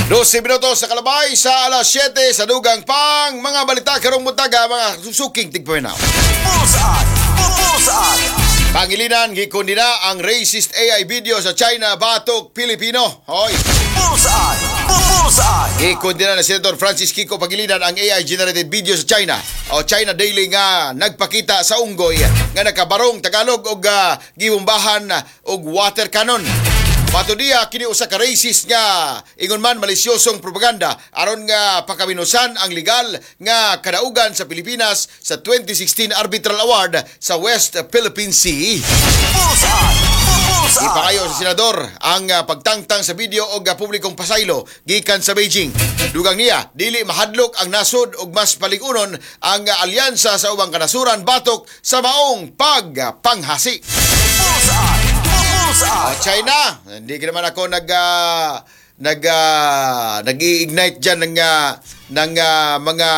12 minuto sa kalabay sa alas 7 sa dugang pang mga balita karong buntaga, mga suking tigpaminaw. Bullseye! Bullseye! Pangilinan, gikondena ang racist AI video sa China batok Pilipino. Hoy, Bullseye! Bullseye! Gikondena ni Senator Francis Kiko Pangilinan ang AI generated video sa China o China Daily nga nagpakita sa unggoy nga nakabarong Tagalog og gibombahan og water cannon. Matud niya, kini usa ka racist nga ingon man malisyosong propaganda aron nga pakaminusan ang legal nga kadaugan sa Pilipinas sa 2016 Arbitral Award sa West Philippine Sea. Bullseye! Bullseye! Ipakayo sa senador ang pagtangtang sa video og publikong pasaylo gikan sa Beijing. Dugang niya, dili mahadlok ang nasod og mas paligunon ang alyansa sa ubang kanasuran batok sa maong pagpanghasi. Bullseye! Bullseye! Oh, China, hindi ka naman ako nag-i-ignite diyan ng mga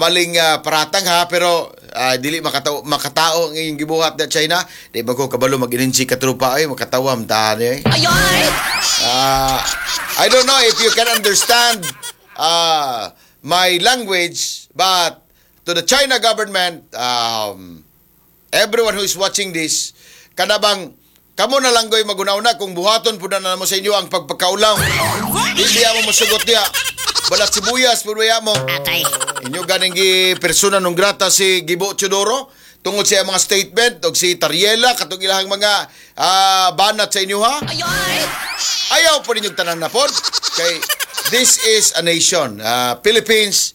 maling paratang ha, pero dili makatao makatao ang inyong gibuhat na China. Di ba ko kabalo mag-ininsi ka trupa ay makatawam ta eh. I don't know if you can understand my language, but to the China government, everyone who is watching this, kanabang kamo na lang goy magunaw na kung buhaton po na mo sa inyo ang pagpakaulaw. Di biya mo mosugot diya. Balat sibuyas po biya mo. Atay. Inyo ganing gi persona non grata si Gibo Teodoro tungod sa iyang mga statement og si Tariela katong ilahang mga banat sa inyo ha. Ayaw po ninyong tanan na pod. Kay this is a nation. Philippines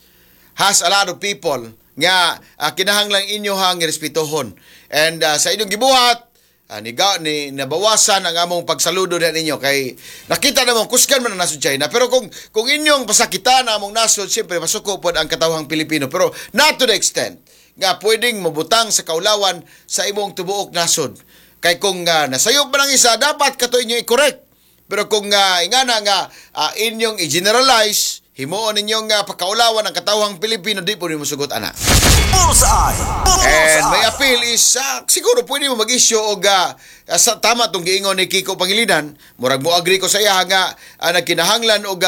has a lot of people nga kinahanglan inyo hang respetuhon. And sa inyong gibuhat, ni nabawasan ang among pagsaludo na ninyo kay nakita namong kusgan man ang nasod China, pero kung inyong pasakitan ang among nasod, siyempre masuko pod ang katawhang Pilipino, pero not to the extent nga pwedeng mabutang sa kaulawan sa imong tibuok nasod, kay kung nasayop man ang isa, dapat kato inyo i-correct. Pero kung ingana nga inyong i-generalize, himuon ninyong pakaulawan ang katawhang Pilipino, di po nimo sugot ana. Bullseye! And my Bullseye! appeal is siguro pwede mo mag-issue og sa tama tong giingon ni Kiko Pangilinan, murag mo agree ko sa iya nga nagkinahanglan og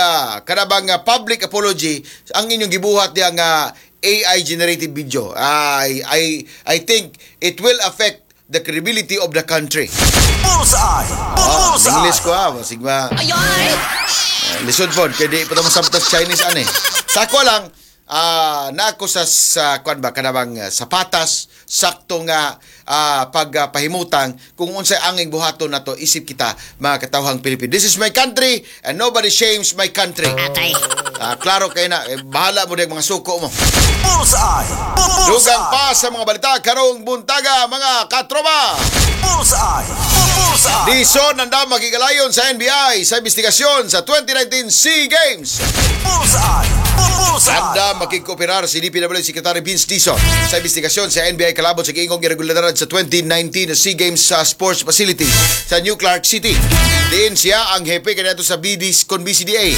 kanabang public apology ang inyong gibuhat diya nga AI generated video. I think it will affect the credibility of the country. Bullseye! Bullseye! English ko ha, sigma. Lisod pod kay di pa ta masabtas Chinese ani. Sa ako lang na ako sa kuan ba, kanabang sapatas sakto nga pagpahimutang kung unsay anging buhaton nato isip kita mga katawhang Pilipino. This is my country and nobody shames my country. Atay. Klaro kay na eh, bahala mo mga suko mo. Bullseye! Dugang Bullseye! pa sa mga balita karong buntaga, mga katropa. Bullseye! Bullseye! Dizon andam makigalayon sa NBI sa investigasyon sa 2019 SEA Games. Bullseye! Bullseye! Andam makigkooperar si DPWH Secretary Vince Dizon sa investigasyon sa NBI kalabot sa giingong irregularidad sa 2019 SEA Games sa sports facility sa New Clark City. Diin siya ang hepe kaniadto sa BD con BCDA.